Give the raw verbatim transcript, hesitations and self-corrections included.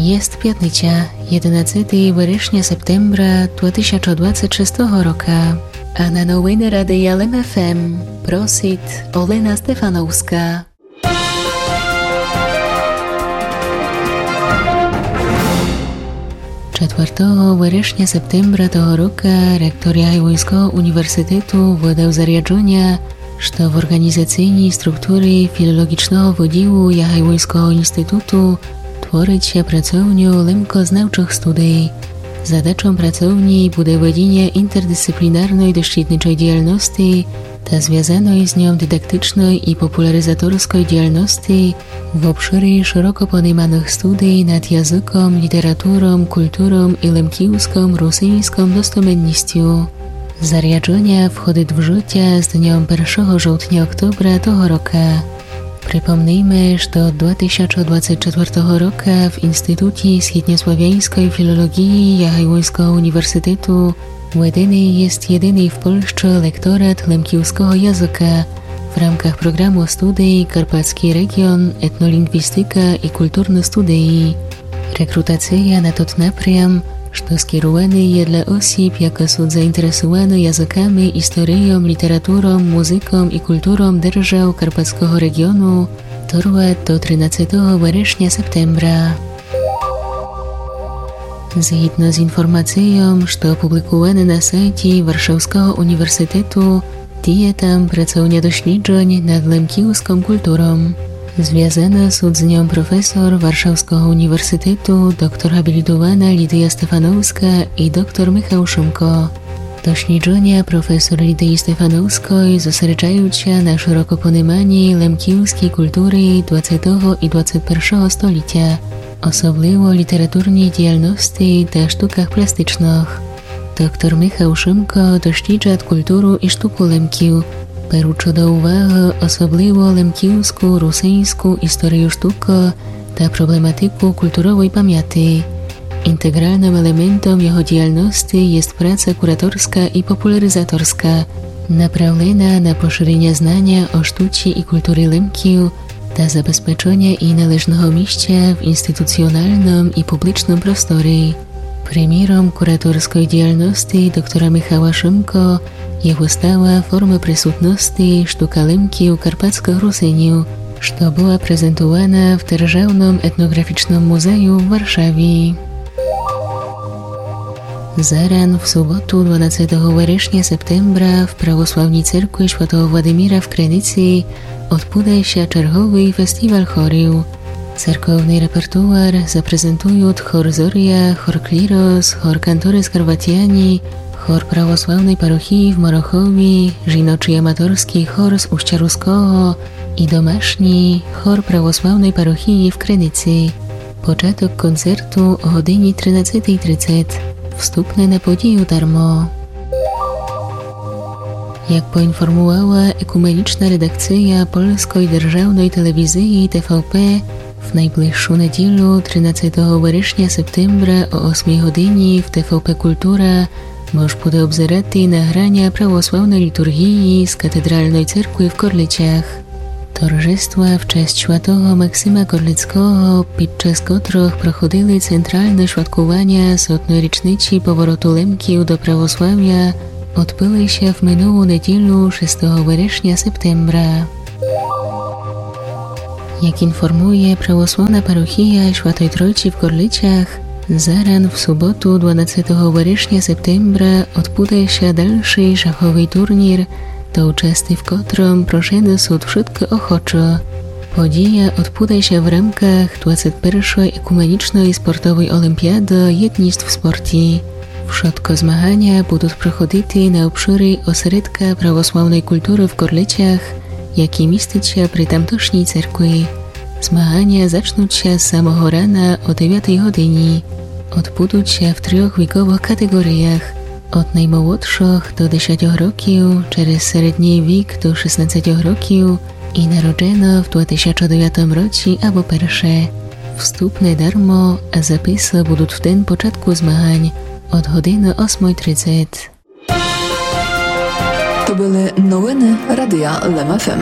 Єст пятниця, єдинадцетого верешня септембра два тисячы двадцет шестого рока. А на новины Радия Лем ФМ просит Олена Стефановска. Четвертого верешня септембра того рока ректор Ягайлойского університету выдав заряджоня, што в орґанізацийній структурі філолоґічного выділу Ягайлойского інституту творит ся працовню лемкознавчых студий. Задачом працовнї буде ведіня інтердисциплінарной дошкільничой діяльности та звязаной з ньом дидактичной і популяризаторской діяльности в обшырі шыроко пониманых студий над языком, літературом, культуром і лемківском русиньском достоменністю. Заряджоня входит в жытя з дньом першого жовтня-октобра того рока. Припомнийме, што од два тисячы двадцет четвертого рока в Інститутї східньославяньской філолоґії Ягайлойского університету веденый єст єдиный в Польщы лекторат лемківского языка в рамках програму студий Карпатскій реґіон, етнолінґвістика і культурны студії. Рекрутація на тот напрям, што скеруваный є для осіб, якы сут заінтересувані языками, історийом, літературом, музыком і культуром держав Карпатского реґіону, тырват до тринадцетого верешня-септембра. Згідно з інформацийом, што опублікуваны на сайтї Варшавского університету, діє там працовня досліджонь над лемківском культуром. Звязаны сут з ньом професор Варшавского університету, доктор ґабілітована Лідия Стефановска і доктор Михал Шымко. Досліджоня професор Лідиі Стефановской зосереджають ся на шыроко пониманї лемківскій культуры двадцетого і двадцет першого столітя, особливо літературній діяльности та штуках пластичных. Доктор Михал Шымко досліджат культуру і штуку лемків, беручи до увагы особливо лемківску, русиньску історию штукы та проблематику культуровой памяти. Інтеґралным елементом його діяльности єст праца кураторска і популяризаторска, направлена на пошыреня знаня о штучі і культурі лемків та забезпеченя їй належного місця в інституціоналным і публичным просторі. Приміром кураторской діяльности доктора Михала Шымко є выстава «Формы присутности: штука лемків у карпатскых русинів», што была презентована в Державным етноґрафічным музею в Варшаві. Заран в суботу, дванадцетого верешня-септембра, в Православній церкви святого Владимира в Криниці одбуде ся черговый фестіваль хорів. Церковный репертуар запрезентують хор «Зоря», хор «Клірос», хор «Кантори Скарватяні», хор православной парохії в Морохові, жіночий аматорскій хор з Устя Руского і домашній хор православной парохії в Криниці. Початок концерту о годинї тринадцетій тридцет. Вступне на подію дармо. Як поінформувала екуменічна редакция Польской державной телевізиі Т В П, в найближшу неділю, тринадцетого верешня-септембра, о осмій годинї в Т В П Культура мож буде обзирати награня православной літурґії з катедралной церкви в Корлицях. Торжества в честь святого Максима Корлицкого, під час котрых проходили централны святкуваня сотной річниці повороту лемків до православя, одбыли ся в минулу неділю, шестого верешня-септембра. Як інформує православна парохія Святой Тройці в Корлицях, заран в суботу, дванадцетого верешня-септембра, одбуде ся дальший шаховый турнір, до участи в котрым прошены сут вшыткы охочо. Подія одбуде ся в рамках двадцет першой екуменічной спортовой олімпіады єдніст в спорті. Вшыткы змаганя будуть проходити на обшырі осередка православной культуры в Корлицях, якій містить ся при тамтошній церкви. Змаганя зачнуть ся з самого рана о девятій годинї. Одбудуть ся в трьох віковых катеґоріях: од наймолодшых до десятьох років, через середній вік до шістнадцятьох років і народжено в два тисячы девятым році або перше. Вступне дармо, а записы будуть в ден початку змагань од годины осмой тридцет. То были новины Радия Лем ФМ.